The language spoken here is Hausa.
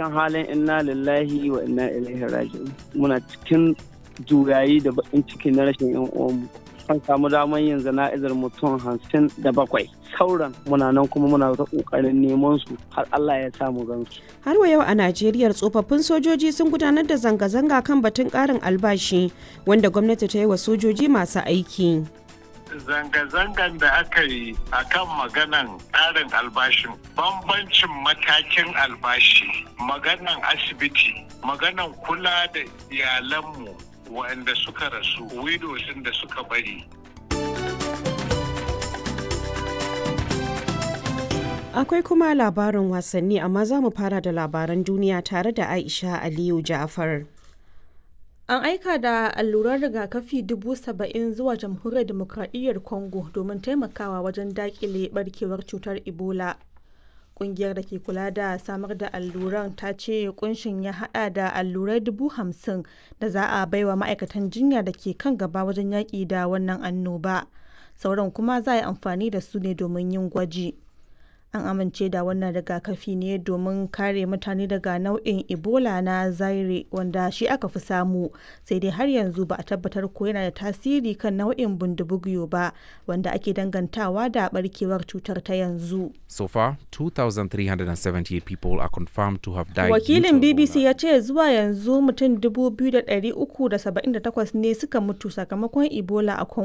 Cikin halin inna lillahi wa inna ilaihi raji'un. Muna cikin juyayi da baƙin ciki na rashin 'yan uwanmu. An samu damar yin zana'izar mutum 57, sauran muna nan kuma muna ta kokarin neman su har Allah ya samu gansu. Har wa yau a Najeriya, tsofaffin sojoji sun gudanar da zanga-zanga kan batun karin albashi wanda gwamnati ta yi wa sojoji masu aiki. Zanga-zangan da aka yi a kan maganan ƙarin albashin, bambancin matakin albashi, maganan asibiti, maganan kula da iyalanmu waɗanda suka rasu, widows da suka bari. Akwai kuma labarin wasanni, amma za mu fara da labaran duniya tare da Aisha Aliyu Ja'far. An aika da alluran rigakafi 70,000 zuwa Jamhuriyar Dimokradiyyar Congo domin taimakawa wajen dakile barkewar cutar Ebola. Kungiyar da ke kula da samar da alluran ta ce kunshin ya hada da allurai 50,000 da za a baiwa ma'aikatan jinya da ke kan gaba wajen yaƙi da wannan annoba. Sauran kuma za a yi amfani da su ne domin yin gwaji. An amince da wannan rigakafi ne domin kare mutane daga nau'in Ebola na Zaire wanda shi aka fi samu, sai dai har yanzu ba a tabbatar ko yana da tasiri kan nau'in Bundibugyo ba wanda ake dangantawa da barkewar cutar ta yanzu. So far, 2,378 people are confirmed to have died. Wakilin BBC ya ce zuwa yanzu mutum 2,378 ne suka mutu sakamakon Ebola a Congo.